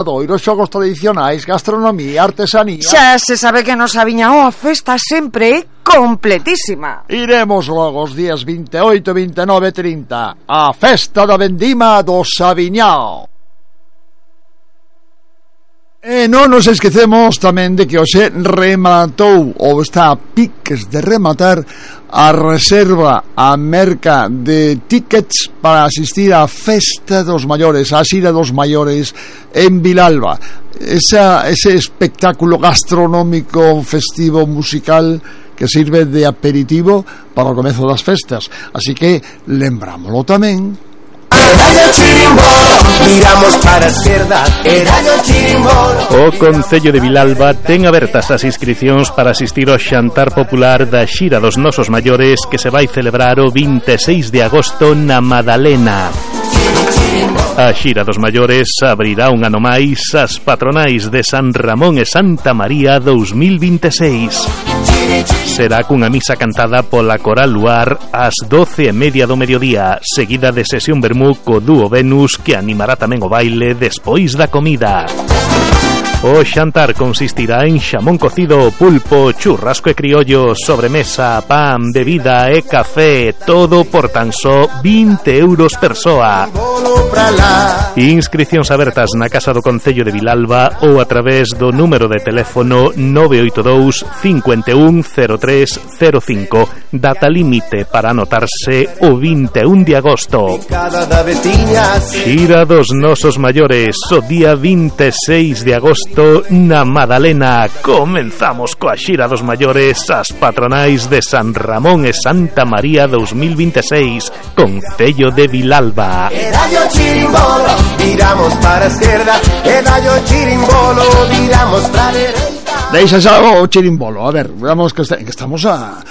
Os xogos tradicionais, gastronomía, artesanía. Xa se sabe que nos Aviñao a festa sempre é completísima. Iremos logo os días 28, 29 e 30 a festa da vendima do Aviñao. E non nos esquecemos tamén de que hoxe rematou ou está a piques de rematar a reserva a merca de tickets para asistir á Festa dos Maiores, a Xira dos Maiores en Vilalba. Ese espectáculo gastronómico, festivo, musical que sirve de aperitivo para o comezo das festas. Así que lembrámoslo tamén. Viramos para a esquerda, o Concello de Vilalba ten abertas as inscricións para asistir ao xantar popular da Xira dos Nosos Maiores que se vai celebrar o 26 de agosto na Madalena. A Xira dos Maiores abrirá un ano máis as patronais de San Ramón e Santa María 2026. Será cunha misa cantada pola Coral Luar ás 12:30 do mediodía, seguida de sesión vermú co dúo Venus, que animará tamén o baile despois da comida. O xantar consistirá en xamón cocido, pulpo, churrasco e criollo, sobremesa, pan, bebida e café, todo por tan só 20 euros persoa. Inscricións abertas na Casa do Concello de Vilalba ou a través do número de teléfono 982 51 0305. Data límite para anotarse o 21 de agosto. Xira dos Nosos Maiores, o día 26 de agosto na Madalena. Comenzamos coa Xira dos Maiores, as patronais de San Ramón e Santa María 2026, Concello de Vilalba. Chirimbolo, viramos para a esquerda, e dallo chirimbolo, viramos para a dereita. Deixa xa o chirimbolo. A ver, veamos que estamos a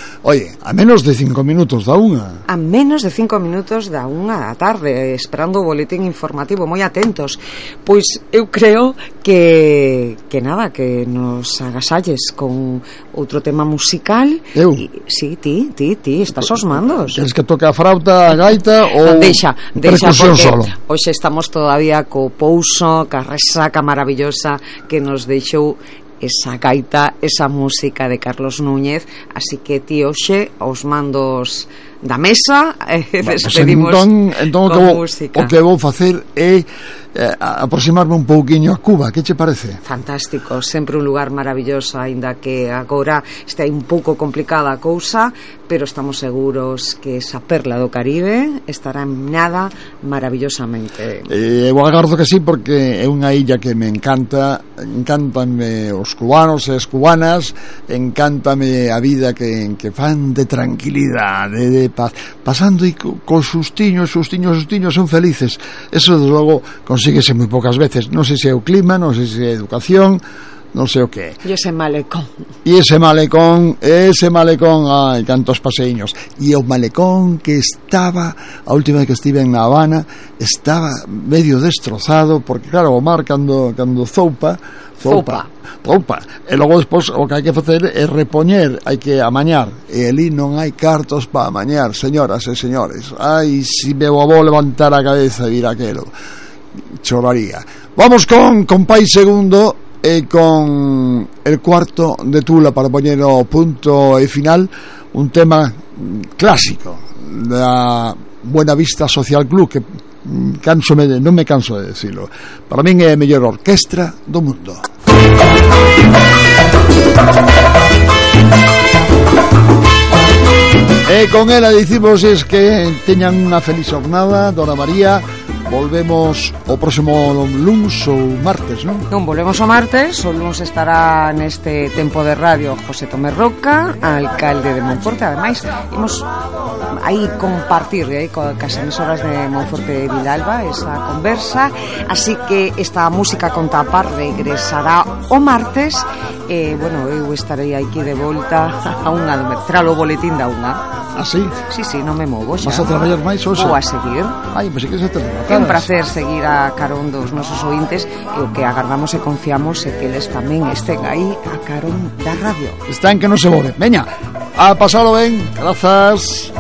menos de 5 minutos da unha. A menos de 5 minutos da unha da tarde, esperando o boletín informativo, moi atentos. Pois eu creo que nada, que nos agasalles con outro tema musical. Eu? Sí, ti, estás aos mandos. Queres que toque a frauta, a gaita ou deixa percusión porque solo? Hoxe estamos todavía co pouso, ca resaca maravillosa que nos deixou esa gaita, esa música de Carlos Núñez. Así que ti hoxe aos mandos da mesa despedimos entón con música. O que vou facer é aproximarme un pouquiño a Cuba. Que che parece? Fantástico, sempre un lugar maravilloso, aínda que agora está un pouco complicada a cousa, pero estamos seguros que esa perla do Caribe estará en nada maravillosamente. Eu agardo que sí, porque é unha illa que me encanta. Encántanme os cubanos e as cubanas, encántame a vida que fan de tranquilidade, de paz, pasando e con sustiños son felices. Eso desde logo consíguese moi poucas veces. Non sei se é o clima, non sei se é a educación, non sei o que. E ese malecón, ai, cantos paseiños. E o malecón que estaba, a última vez que estive en La Habana, estaba medio destrozado, porque claro, o mar cando zoupa, e logo despois o que hai que facer é repoñer, hai que amañar, e ali non hai cartos para amañar, señoras e señores. Ai, si meu avó levantar a cabeza e vir aquelo, choraría. Vamos con Pai Segundo e con el cuarto de Tula para poñer o punto e final, un tema clásico da Buena Vista Social Club, que non me canso de decirlo. Para min é a mellor orquestra do mundo. E con ela dicimos que teñan unha feliz jornada, Dona María. Volvemos o próximo luns ou martes, non? Non, volvemos o martes. O luns estará neste tempo de radio José Tomé Roca, alcalde de Monforte. Ademais, imos aí compartir cas emisoras de Monforte de Vilalba esa conversa. Así que esta música con tapar regresará o martes. Bueno, eu estarei aquí de volta a unha do tras o boletín da unha. ¿Ah, sí? Sí, non me movo xa. Vas a traballar máis hoxe? Vou a seguir. Ai, pois é que se te rematas. É un placer seguir a carón dos nosos ointes, e o que agardamos e confiamos é que eles tamén estén aí a carón da radio. Están que non se moven. Veña, a pasalo ben. Grazas.